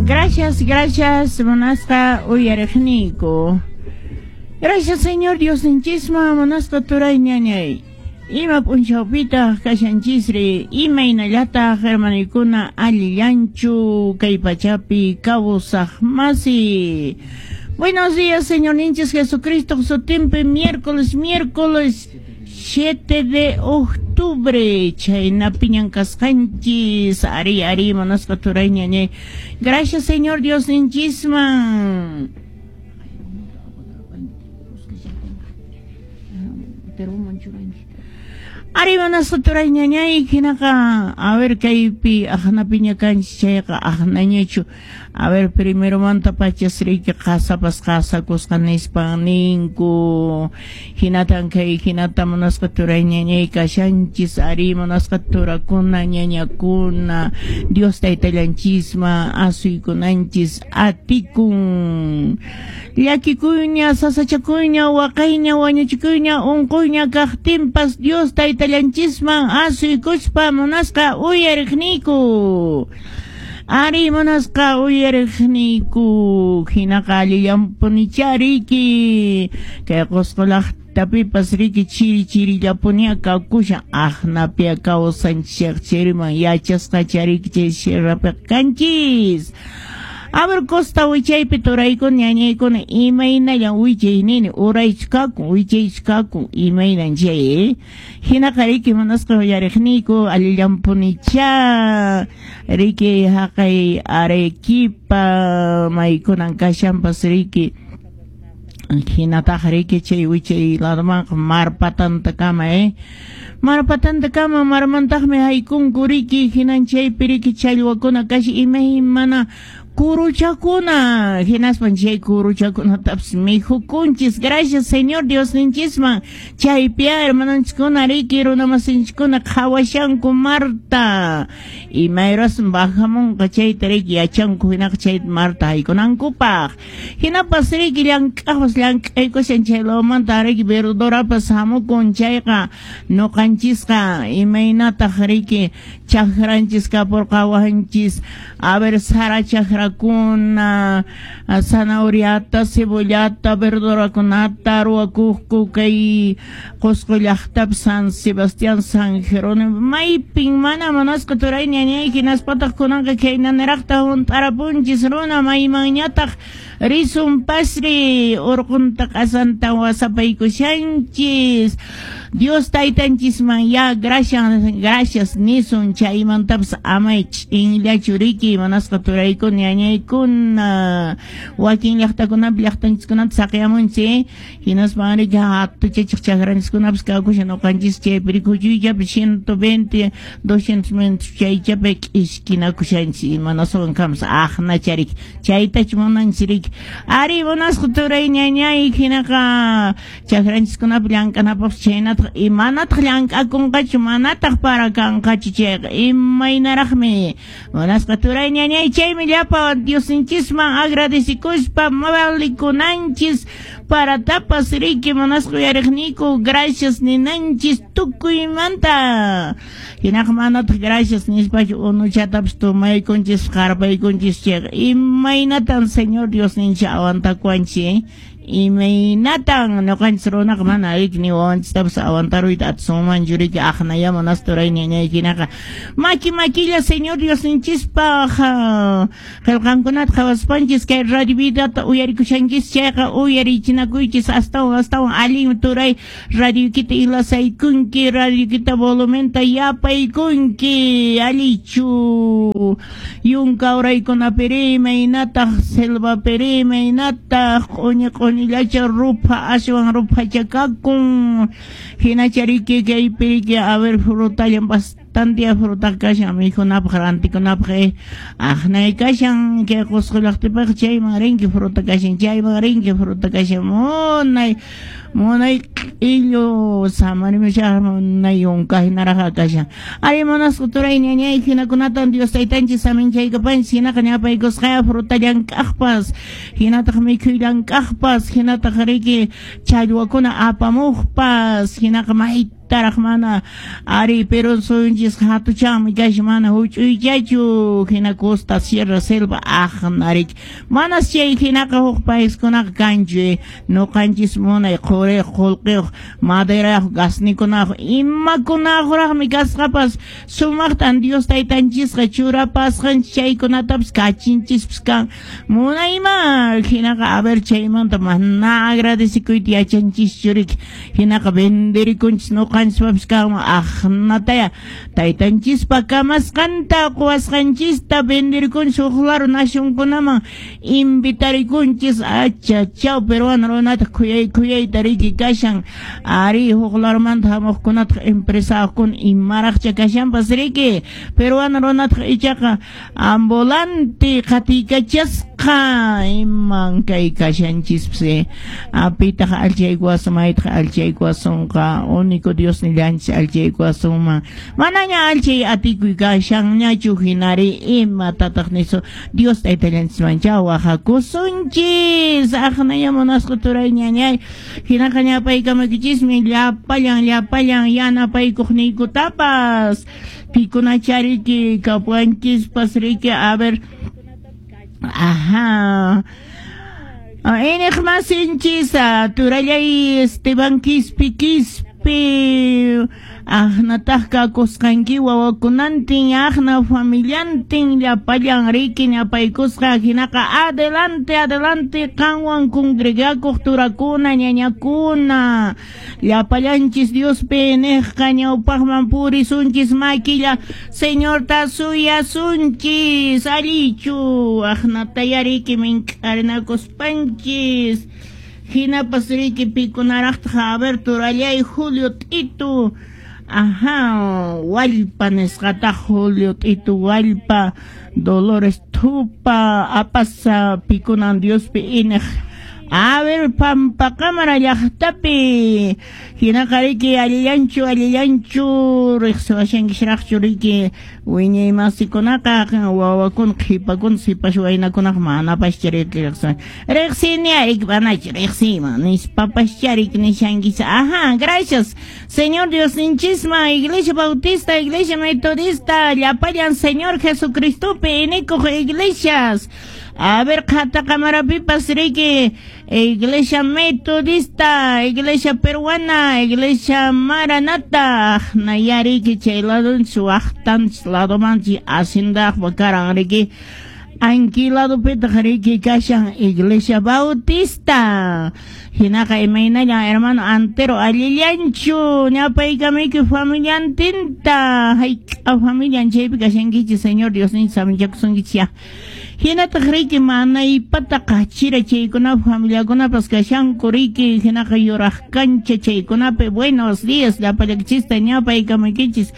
Gracias, gracias, munasqa uyariqniyku. Gracias, Señor Diosninchisman, munasqa turay ñañay. Ima p'unchawpitaq kashanchisri, imaynallataq hermanoykuna allillanchu kay pachapi kawsaq masi. Buenos días, Señorninchis Jesucristo sutinpi, miércoles, miércoles 7 de octubre, chhaynapiñan kasqanchis. Ari, ari, munasqa turay ñañay. Gracias, Señor Diosninchisman. Ari, munasqa turay ñañay, hinaqa, a ver, kaypi aqnapiña kanchis chayqa aqnañachu. A ver, primeromanta pachas riki qasapas qasakusqa nispan ninku. Hinatan kay hinata munasqa turay ñañay kashanchis. Ari, munasqa turakuna, ñañakuna, Dios taytallanchisman asuykunanchis atikun. Llakikuyña, sasachakuyña, waqayña, wañuchikuyña, unquyña kaqtinpas Dios taytallanchisman asuykuspa munasqa uyariqniyku. Ari, munasqa uyariqniyku, hinaqa allillanpunichá riki kay Qosqo llaqtapipas riki chiri chirillapunia kakushan, aqnapia kawsanchis chiriman yachasqacha riki chay sierrapiqa kanchis. A ver, costa wichaypi turaykuna ñañaykuna imaynallan wichay nini, uraychu kakun, wichaychu kakun, imaynan chay, Hinaqa riki munasqa uyariqniyku allillanpunichá riki haqay Arequipa maykunan kashanpas riki. Hinataq riki chay wichay ladomanqa mar patantakama, Mar patantakama marmantaqmi haykunku riki, hinan chaypi riki challwakuna kashi imaymana kuruchakuna, hinaspan chay kuruchakunatapas mikhukunchis. Gracias, Señor Diosninchisman. Chaypiya hermanonchiskuna riki runamasinchiskuna qhawashanku marta. Imayrasmi bajamunqa chayta riki yachanku hinaqa chay marta haykunankupaq. Hinapas riki llank'aqpas llank'aykushan chay lawmanta riki verdorapas hamukun chayqa noqanchisqa imaynataq riki chakranchis kapurqawanchis. A ver, sara chakrakuna, zanahoriata, cebollata, verdorakunata ruwakuqku kay Qosqo llaqtapi San Sebastián, San Jerónimo, maypin mana munasqa turay ñañay, hinaspataq kunanqa khaynaniraqta hunt'arapunchis runa maymanñataq risun pasri urqunta q'asanta wasapaykushanchis. Dios taytanchisman ya gracias, gracias nisun, chaymantapas amay ch'inllachu riki munasqa turaykuna ñañaykuna. Wakin llaqtakunapi llaqtanchiskunata saqeyamunchis, hinaspan riki hatuchachiq chakranchiskunapas kakushan noqanchis chaypi riki huchuychapi 120, 200 metros chaychapi k'ishkinakushanchis imanaswan kamas aqnacha riki chaytachu munanchis riki. Ari, munasqa turay ñañay, hinaqa chakranchiskunapi llank'anapaqpas chaynataq imanataq llank'akunqachu, manataq para kanqachu chayqa imaynaraqmi munasqa turay ñañay. Chaymi llapa Diosninchisman agradecikuspa valikunanchis paratapas riki munasqa uyariqniyku gracias ninanchis tukuymanta. Hinaqa manataq gracias nispachu unuchatapas tomaykunchis qarpaykunchis chayqa imaynatan Señor Diosninchis aguantakuanchis, Imaynatan noqanchis runaqa mana riki ni wawanchistapas aguantaruyta atisunmanchu riki aqnaya munasqa turay ñañay. Hinaqa maki makilla Señor Diosninchispaq qillqankunata qhawaspanchis kay radio vidata uyarikushanchis chayqa uyarichinakuychis astawan astawan allin turay radioykita ilasaykunki, radioykita volumenta yapaykunki, allichu yunka uraykunapiri imaynataq selvapiri imaynataq q'uñi q'uñillacha rupha aswan ruphacha kakun, hinacha riki kaypi riki a ver frutallan bastante fruta kashan mikhunapaq rantikunapaq, aqnay kashan kay Qosqo llaqtapaq chayman rinki fruta kashan, chayman rinki fruta kashan, munay munay q'illu samarimushaq munay yunka hinaraq kashan. Ari munasqa turay ñañay, hinakunatan Dios taytanchis saminchaykapanchis, hinaqa ñapaykusqaya fruta llank'aqpas, hinataq mikhuy llank'aqpas, hinataq riki challwakuna apamuqpas, hinaqa mayta Maytaraq mana ari Perú suyunchis hatuchanmi kashan, mana huch'uychachu, hina costa, sierra, selva aqna riki. Manas chay hinaqa huk paiskunaqa kanchu, ñuqanchis munay quriyuq, qullqiyuq, maderayuq, gasnikunayuq, imakunayuqraqmi kasqapas, sumaqtan Dios taytanchisqa churapasqanchis, chaykunatapas kachinchispas kan. Munayma hinaqa a ver chaymanta mana agradecekuyta yachanchischu riki, hinaqa venderikunchis ñuqanchispapis kanman aqnataya taytanchispa kamasqanta quwasqanchista venderikunchis huk lado nacionkunaman invitarikunchis. Achachaw, peruano runataq khuyay khuyayta riki kashan, ari huk ladomanta hamuqkunataq empresariokuna imaraqcha kashanpas riki, peruano runataq ichaqa ambulante qatiykachasqa iman kay kashanchispas. Apitaq allchaykuwasun, maytaq allchaykuwasunqa, único Dios nillanchis allchaykuwasunman, manaña allchay atikuy kashanñachu, hinari imatataq nisu Dios taytallanchismancha waqakusunchis. Aqnaya munasqa turay ñañay, hinaqa ñapaykamakichismi llapallan llapallan yanapaykuqniykutapas, pikunachariki kapuanchispas riki. A ver, ajá, iñiqmasinchis turallay Esteban Quispi Quispi, aqnataq kakusqanki wawakunantin, aqna familiantin llapallan riki ñapaykusqa, hinaqa adelante adelante qanwan congregakuq turakuna ñañakuna, llapallanchis Diospi niqqa ñawpaqman purisunchis, makilla Señorta suyasunchis, allichu aqnataya riki mink'arinakuspanchis. Hinapas riki pikunaraqtaq, a ver turallay Julio Tito, ajá, Wallpa nisqataq, Julio Tito Wallpa, Dolores Tupa, apasa pikunan Diospi iniq. A ver, Pampacámara llaqtapi, hinaqa riki allillanchu allillanchu riqsiwashankisraqchu riki wiñaymasikunaqa, wawakuna qhipakuna sipas waynakunaqa manapascha riki riqsiwan riqsini riki manachu riqsiyman nispapascha riki nishankis. Ajá, gracias Señor Diosninchisman, Iglesia Bautista, Iglesia Metodista, llapallan Señor Jesucristopi inikuq iglesias. A ver, Qhatakamarapipas riki Iglesia Metodista, Iglesia Peruana, Iglesia Maranata, nayariki chay ladonchis waqtanchis ladomanchis hacendaqpa karan riki. Anki ladopitaq riki kashan Iglesia Bautista. Hinaqa imaynallan hermano Antero, allillanchu ñapaykamiki familiantinta, hayk'a familian chaypi kashankichis, Señor Diosninchis saminchakusunkichis ya. Hinataq riki manaypata qachira chaykunapi familiakunapas kashanku riki, hinaqa yuraq kancha chaykunapi. Buenos días llapallaykichista ñapaykamaykichis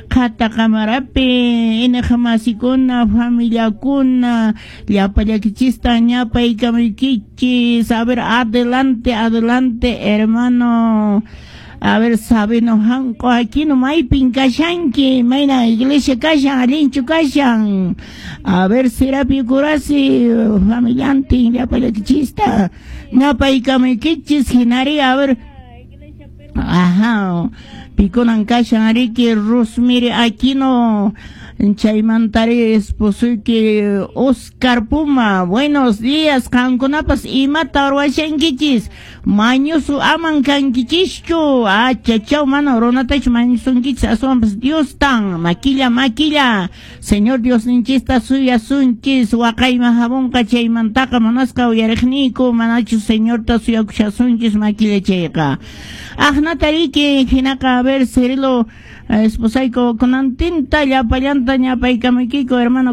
Qhatakamarapi iñiqmasikuna familiakuna, llapallaykichista ñapaykamaykichis. A ver, adelante adelante hermano. A ver, Sabino Hanko Aquino, maypin kashanki, mayna iglesia kashan, allinchu kashan. A ver, Serapio Curasi, familiantin, llapallaykichista ñapaykamaykichis, hinari, a ver, ajá, pikunan kashan riki Rosmiri Aquino, chaymantari esposoyki Oscar Puma. Buenos días, qankunapas imata ruwashankichis, mañusu aman kankichischu, achachaw, mana runatachu mañusunkichis, aswanpas Diostan, makilla makilla Señor Diosninchista suyasunchis, waqayman hamunqa chaymantaqa munasqa uyariqniyku, manachu Señorta suyakushasunchis makilla chayqa. Aqnata riki, hinaqa a ver, Cirilo esposayku kunantinta llapallanta ñapaykamaykiku hermano.